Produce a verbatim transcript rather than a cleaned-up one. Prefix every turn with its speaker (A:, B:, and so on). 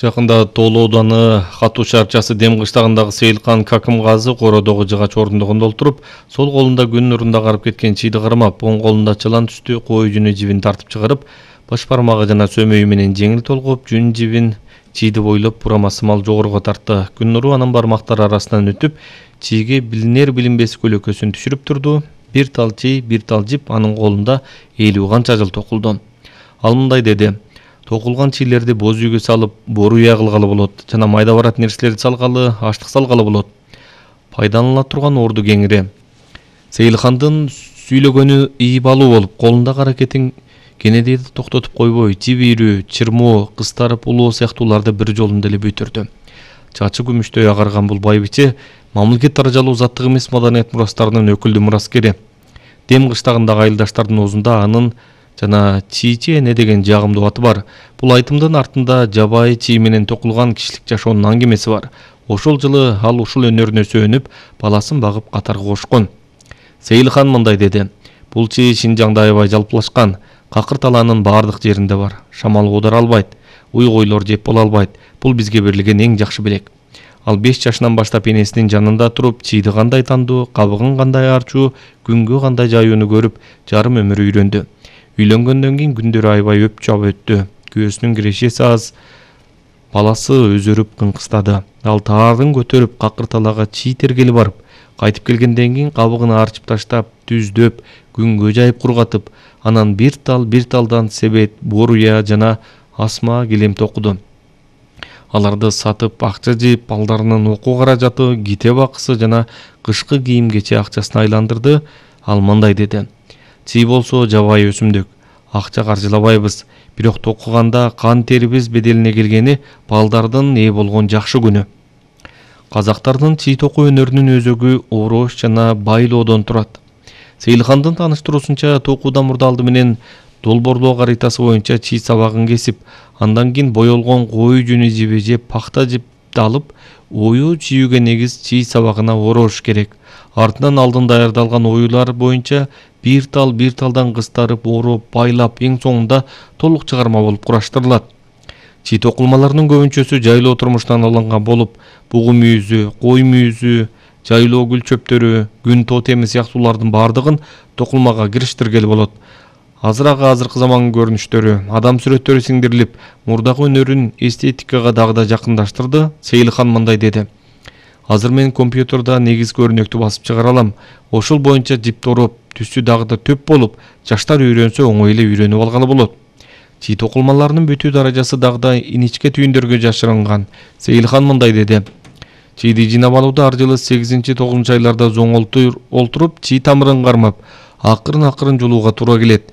A: Жакында Тоолу ауданы Катуу шаарчасы Дем кыштагындагы Сейилхан Какымгазы кородогу жыгач ордугунда отуруп, сол колунда күн нурунда карып кеткен чийди кармап, оң колунда чылан түстүү кой жүнү жибин тартып чыгарып, баш бармагы жана сөмөйү менен жеңил толгоп, жүн жибин чийди бойлоп бурамасымал жогоруга тартты. Күн нуру анын бармактары арасынан өтүп, чийге билинер билинбес көлөкөсүн түшүрүп турду. Бир тал чий, бир тал жип анын колунда элүү канча жыл токулду. Ал мындай деди: токулган чийлерди боз үйгө салып, бору уя кылгалы болот жана майда барат нерселерди салгалы, аштык салгалы болот. Пайдаланыла турган орду кеңири. Сейилхандын сүйлөгөнү ийбалуу болуп, колундагы аракетин кенедейди токтотуп койбой, жибирүү, чырмоо, кыстарып улоо сыяктууларды бир жолунда эле бүтүрдү. Чачы күмүштөй агарган бул байбиче мамлекет даражалуу заттык эмес маданият мурастарынын өкүлдүү мураскери. Дем кыштагындагы айылдаштардын оозунда анын жана чийчи эне деген жагымдуу аты бар. Бул айтымдын артында жабайы чий менен токулган кишилик жашоонун аңгемеси бар. Ошол жылы ал ушул өнөрүнө сөөнүп, баласын багып катарга кошкон. Сейилхан мындай деди: бул чий Шинжаңда аябай жалпылашкан, какыр талаанын баардык жеринде бар. Шамал оодара албайт, уй-койлор жеп боло албайт. Бул бизге берилген эң жакшы белек. Ал беш жашынан баштап энесинин жанында туруп, чийди кандай тандоо, кабыгын кандай аарчуу, күнгө кандай жаюуну көрүп, жарым өмүр үйрөндү. Үйлөнгөндөн кийин күндөрү аябай өп чап өттү. Күйөөсүнүн кирешеси аз, баласы өзөрүп кыңкыстады. Ал таарын көтөрүп какыр талаага чий тергели барып, кайтып келгенден кийин кабыгын аарчып таштап, түздөп, күнгө жайып кургатып, анан бир тал бир талдан себет, боруя жана асма килем токуду. Аларды сатып акча жыйып, балдарынын окуу каражаты, китеп акысы жана кышкы кийим кече акчасына айландырды. Ал мындай деди: чий болсо жабайы өсүмдүк, акча каржылабайбыз, бирок токуганда кан терибиз беделине келгени балдардын ээ болгон жакшы күнү. Казактардын чий токуу өнөрүнүн өзөгү орош жана байлоодон турат. Сейилхандын тааныштыруусунча, токуудан мурда алды менен долбоорлоо каритасы боюнча чий сабагын кесип, андан кийин боелгон кой жүнү жиби же пахта жипти алып, ою чүйүүгө негиз чий сабагына орош керек. Артынан алдын даярдалган оюлар боюнча бир тал бир талдан кыстарып, ороп, байлап, эң соңунда толук чыгарма болуп кураштырылат. Чий токулмаларынын көбүнчөсү жайлоо турмуштан алынган болуп, бугу мүйүзү, кой мүйүзү, жайлоо гүл чөптөрү, күн тотеми сыяктуулардын баардыгын токулмага кириштиргели болот. Азыраагы азыркы замандын көрүнүштөрү, адам сүрөттөрү сиңдирилип, мурдагы өнөрүн эстетикага дагы да жакындаштырды. Сейилхан мындай деди: азыр мен компьютерда негизги өрнөктү басып чыгара алам. Ошол боюнча жипти ороп, түсү дагы да төп болуп, жаштар үйрөнсө оңой эле үйрөнүп алганы болот. Чий токулмаларынын бүтүү даражасы дагы да иничке түйүндөргө жашырынган. Сейилхан мындай деди: чийди жыйнап алууда ар жылы сегизинчи тогузунчу айларда зоң олтуруп, чий тамырын кармап, акырын акырын жулууга туура келет.